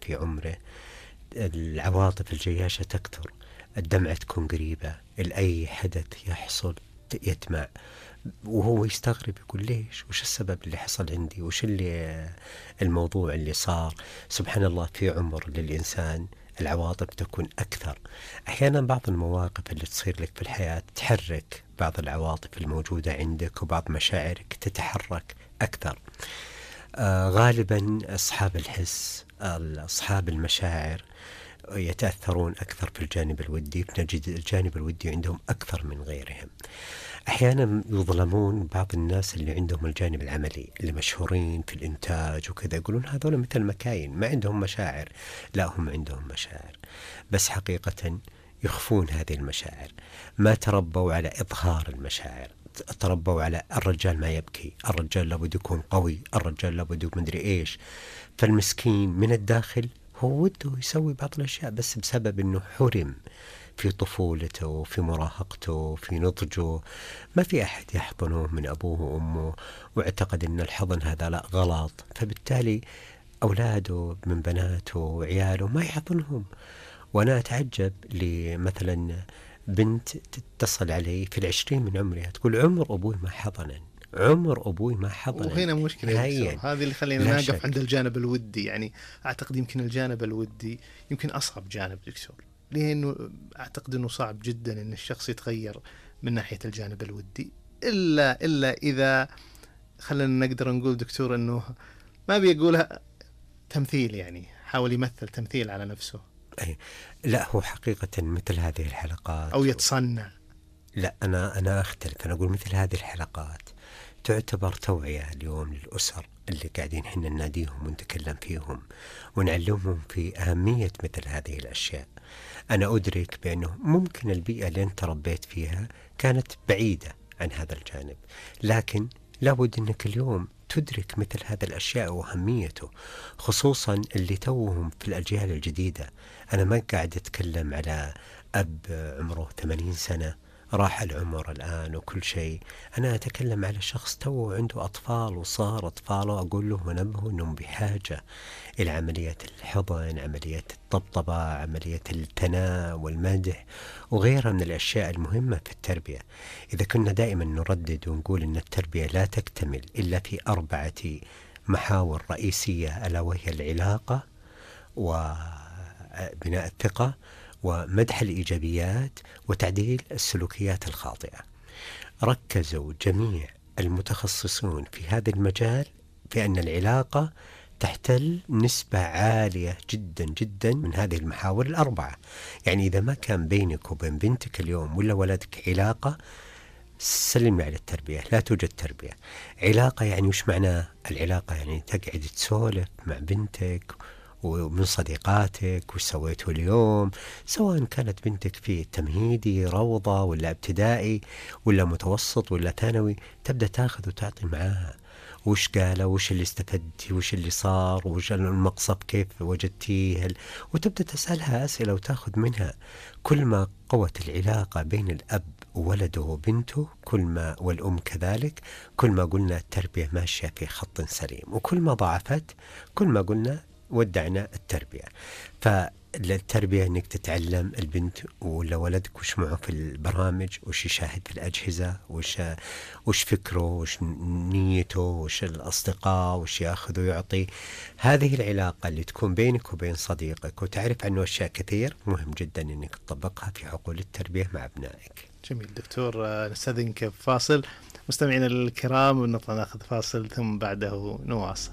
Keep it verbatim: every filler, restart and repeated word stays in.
في عمره العواطف الجياشة تكثر، الدمعة تكون قريبة، لأي حدث يحصل يدمع، وهو يستغرب يقول ليش، وش السبب اللي حصل عندي، وش اللي الموضوع اللي صار. سبحان الله، في عمر للإنسان العواطف تكون أكثر. أحيانا بعض المواقف اللي تصير لك في الحياة تحرك بعض العواطف الموجودة عندك، وبعض مشاعرك تتحرك أكثر. آه غالبا أصحاب الحس، أصحاب المشاعر يتأثرون أكثر في الجانب الودي، نجد الجانب الودي عندهم أكثر من غيرهم. أحيانا يظلمون بعض الناس اللي عندهم الجانب العملي، اللي مشهورين في الإنتاج وكذا، يقولون هذول مثل مكاين ما عندهم مشاعر. لا، هم عندهم مشاعر، بس حقيقة يخفون هذه المشاعر، ما تربوا على إظهار المشاعر، تربوا على الرجال ما يبكي، الرجال لابد يكون قوي، الرجال لابد يكون مدري إيش. فالمسكين من الداخل هو وده يسوي بعض الأشياء، بس بسبب أنه حرم في طفولته، في مراهقته، في نضجه، ما في أحد يحضنه من أبوه وأمه، واعتقد أن الحضن هذا لا غلط، فبالتالي أولاده من بناته وعياله ما يحضنهم. وأنا أتعجب لمثلا بنت تتصل علي في العشرين من عمرها تقول عمر أبوي ما حضنن، عمر أبوي ما حضن. وهنا مشكلة هذه اللي خلينا نقف عند الجانب الودي. يعني أعتقد يمكن الجانب الودي يمكن أصعب جانب دكتور، لأنه أعتقد أنه صعب جدا أن الشخص يتغير من ناحية الجانب الودي، إلا إلا إذا خلينا نقدر نقول دكتور أنه ما بيقولها تمثيل، يعني حاول يمثل تمثيل على نفسه. أي لا، هو حقيقة مثل هذه الحلقات أو يتصنع. لا، أنا أنا أختلف، أنا أقول مثل هذه الحلقات تعتبر توعية اليوم للأسر اللي قاعدين حنا نناديهم ونتكلم فيهم ونعلمهم في أهمية مثل هذه الأشياء. أنا أدرك بأنه ممكن البيئة اللي أنت ربيت فيها كانت بعيدة عن هذا الجانب، لكن لابد أنك اليوم تدرك مثل هذا الأشياء وأهميته، خصوصا اللي توهم في الأجيال الجديدة. أنا ما قاعد أتكلم على أب عمره ثمانين سنة راح العمر الآن وكل شيء، أنا أتكلم على شخص تو عنده أطفال وصار أطفاله، أقول له ونبهه أنهم بحاجة إلى عملية الحضن، عملية الطبطبة، عملية الثناء والمدح وغيرها من الأشياء المهمة في التربية. إذا كنا دائما نردد ونقول أن التربية لا تكتمل إلا في أربعة محاور رئيسية، ألا وهي العلاقة وبناء الثقة ومدح الإيجابيات وتعديل السلوكيات الخاطئة، ركزوا جميع المتخصصون في هذا المجال في أن العلاقة تحتل نسبة عالية جدا جدا من هذه المحاور الأربعة. يعني إذا ما كان بينك وبين بنتك اليوم ولا ولدك علاقة، سلمي على التربية، لا توجد تربية. علاقة يعني وش معناه؟ العلاقة يعني تقعد تسولف مع بنتك ومن صديقاتك وش سويتوا اليوم، سواء كانت بنتك في تمهيدي روضة ولا ابتدائي ولا متوسط ولا ثانوي، تبدأ تاخذ وتعطي معاها، وش قالوا، وش اللي استفدتي، وش اللي صار، وش المقصف كيف وجدتيه، وتبدأ تسألها أسئلة وتاخذ منها. كل ما قوت العلاقة بين الأب وولده وبنته، كل ما والأم كذلك، كل ما قلنا التربية ماشية في خط سليم، وكل ما ضعفت كل ما قلنا ودعنا التربية. فالتربية انك تتعلم البنت ولا ولدك وش معه في البرامج، وش يشاهد في الأجهزة، وش وش فكره، وش نيته، وش الأصدقاء، وش ياخذ ويعطي. هذه العلاقة اللي تكون بينك وبين صديقك وتعرف عنه أشياء كثير، مهم جدا انك تطبقها في حقول التربية مع أبنائك. جميل دكتور، نستأذنك فاصل. مستمعينا الكرام نطلع ناخذ فاصل ثم بعده نواصل.